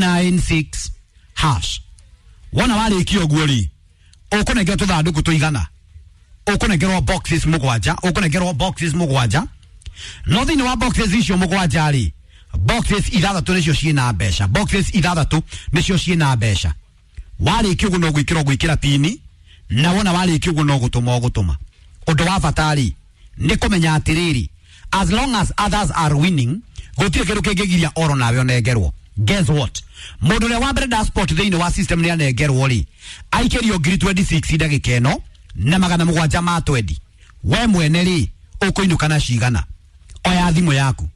96 hash. Wona warĩkia ũguo rĩ, ũkũnengerwo tũthandũkũ tũigana, ũkũnengerwo boxes mũgwanja, ũkũnengerwo boxes mũgwanja. No thĩinĩ wa boxes icio mũgwanja rĩ, boxes ithathatũ nĩcio ciĩna mbeca, boxes ithathatũ nĩcio ciĩna mbeca. Warĩkia ũguo no gwĩkĩra ũgwĩkĩra pini, na wona warĩkia ũguo no gũtũma ũgũtũma. Ũndũ wa bata rĩ, nĩ kũmenya atĩrĩrĩ, as long as others are winning, gũtirĩ kĩndũ kĩngĩgiria oro nawe ũnengerwo. Guess what, mũndũ ũrĩa wa mbere da sport thĩinĩ wa system nĩ anengerwo rĩ, aikĩrio ngiri 26 ndagĩka ĩno na magana mũgwanja ma 20. We mwene rĩ, ũkũinũka na cigana? Oya thimũ yaku,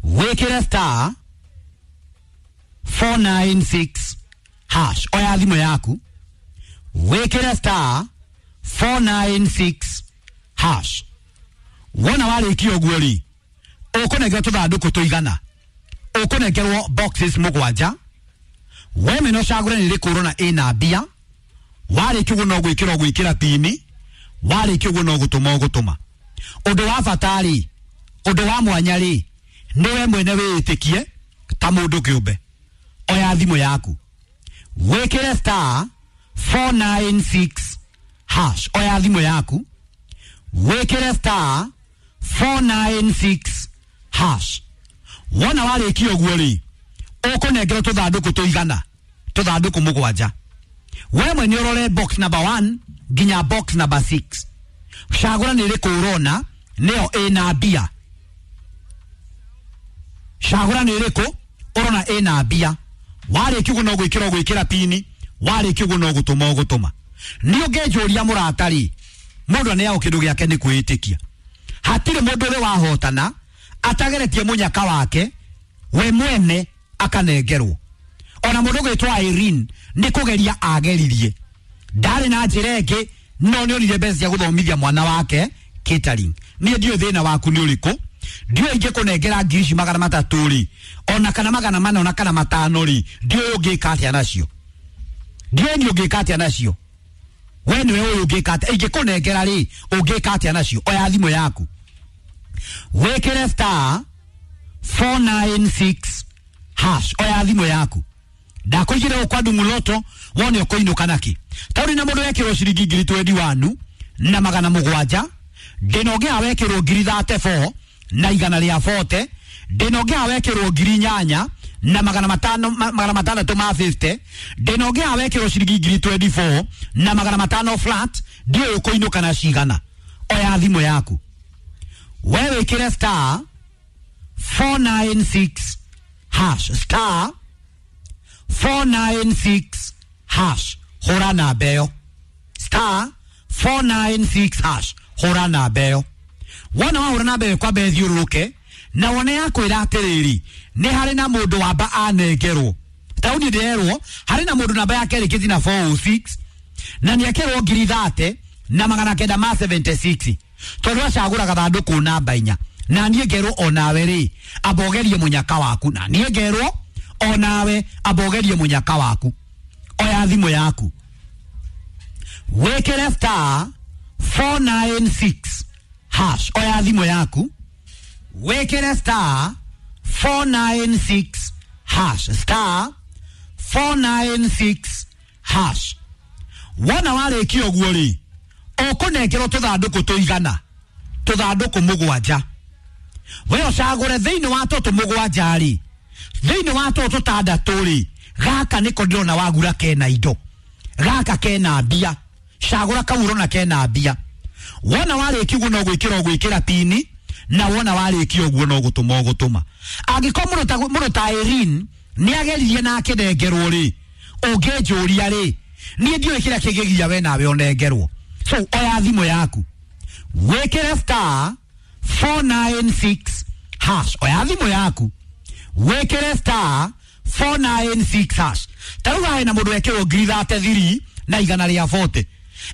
wĩkĩre star 496 hash. Oya thimũ yaku, wĩkĩre star 496 hash. Wona warĩkia ũguo rĩ, ũkũnengerwo tũthandũkũ tũigana, ũkũnengerwo boxes mũgwanja. We mwene ũcagũre nĩ rĩkũ ũrona ĩna mbia. Warĩkia ũguo no gwĩkĩra ũgwĩkĩra pini, warĩkia ũguo no gũtũma ũgũtũma. Ũndũ wa bata rĩ, ũndũ wa mwanya rĩ, nĩ we mwene wĩĩtĩkie ta mũndũ kĩũmbe. Oya thimũ yaku, wĩkĩre star 496 hash. Oya thimũ yaku, wĩkĩre star 496 hash. Wona warĩkia ũguo rĩ, ũkũnengerwo tũthandũkũ tũigana, tũthandũkũ mũgwanja. We mwene ũrore box number 1 nginya box number 6, cagũra nĩ ĩrĩkũ ũrona nĩyo ĩna mbia. Cagũra nĩ ĩrĩkũ ũrona ĩna mbia. Warĩkia ũguo no gwĩkĩra ũgwĩkĩra pini, warĩkia ũguo no gũtũma ũgũtũma. Nĩ ũngĩnjũria mũrata rĩ, mũndũ aneagwo kĩndũ gĩake nĩ kwĩĩtĩkia. Hatirĩ mũndũ ũrĩ wahotana atageretie mũnyaka wake we mwene akanengerwo. Ona mũndũ ũgwĩtwo Irene nĩ kũgeria ageririe, ndarĩ na njĩra ĩngĩ, no nĩ onire mbeca cia gũthomithia mwana wake catering. Niĩ ndiũĩ thĩna waku nĩ ũrĩkũ, ndiũĩ ingĩkũnengera ngiri ici magana matatũ rĩ, ona kana magana mana, ona kana matano rĩ, ndiũĩ ũngĩka atĩa nacio, ndiũĩ niĩ ũngĩka atĩa nacio. We nĩwe ũyũ ũngĩka atĩa, ingĩkũnengera rĩ, ũngĩka atĩa nacio? Oya thimũ yaku, wĩkĩre star 496 hash. Oya thimũ yaku, ndakũigĩre gũkwa ndumuloto wone ũkũinũka naki. Taũri na mũndũ wekĩrwo ciringi ngiri 21 na magana mũgwanja, ndĩna ũngĩ haha wekĩrwo ngiri 34 na igana rĩa 40, ndĩna ũngĩ haha wekĩrwo ngiri inyanya na magana matano, magana matandatũ ma 50, ndĩna ũngĩ haha wekĩrwo ciringi ngiri 24 na magana matano flat. Ndiũĩ ũkũinũka na cigana. Oya thimũ yaku, we wĩkĩre star 496 hash, star 496 hash, hũra namba ĩyo, star 496 hash, hũra namba ĩyo. Wona wahũra namba ĩyo kwamba ĩthiũrũrũke na wone yakwĩra atĩrĩrĩ, nĩ harĩ na mũndũ wamba anengerwo. Taũni ndĩrerwo harĩ na mũndũ namba yake ĩrĩkĩtie na 406 na nĩ ekerwo ngiri 30 na magana kenda ma 76, tondũ acagũra gathandũkũ namba inya. Na niĩ ngerwo onawe rĩ, amba ũgerie mũnyaka waku. Na niĩ ngerwo onawe amba ũgerie mũnyaka waku. Oya thimũ yaku, wĩkĩre star 496 hash. Oya thimũ yaku, wĩkĩre star 496 hash, star 496 hash. Wona warĩkia ũguo rĩ, ũkũnengerwo tũthandũkũ tũigana, tũthandũkũ mũgwanja. We ũcagũre thĩinĩ wa tũtũ mũgwanja rĩ, thĩinĩ wa tũtũ tũtandatũ rĩ, gaka nĩko ndĩrona wagura kena indo, gaka kena mbia. Cagũra kau ũrona kena mbia. Wona warĩkia ũguo no gwĩkĩra ũgwĩkĩra pini, na wona warĩkia ũguo no gũtũma ũgũtũma. Angĩkorwo mũndũ ta Irene nĩ ageririe na akĩnengerwo rĩ, ũngĩnjũria rĩ, niĩ ndiũĩ kĩrĩa kĩngĩgiria we nawe ũnengerwo. So oya thimũ yaku, wĩkĩre star 496 hash. Oya thimũ yaku, wĩkĩre star 496 hash. Ta rĩu haha hena mũndũ wekĩrwo ngiri 33 na igana rĩa 40.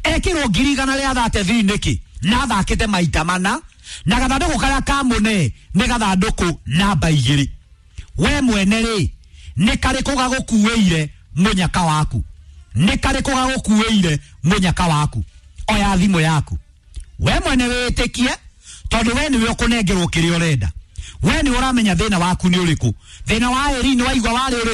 Ekĩrwo ngiri igana rĩa 33 nĩkĩ? Na athakĩte maita mana, na gathandũkũ karĩa kamũne nĩ gathandũkũ namba igĩrĩ. We mwene rĩ, nĩ karĩkũ gagũkuĩire mũnyaka waku? Nĩ karĩkũ gagũkuĩire mũnyaka waku? Oya thimũ yaku, we mwene wĩtĩkie, tondũ we nĩwe ũkũnengerwo kĩrĩa ũrenda. We nĩ ũramenya thĩna waku nĩ ũrĩkũ. Thĩna wa Eri nĩ waigua warĩ ũrĩkũ?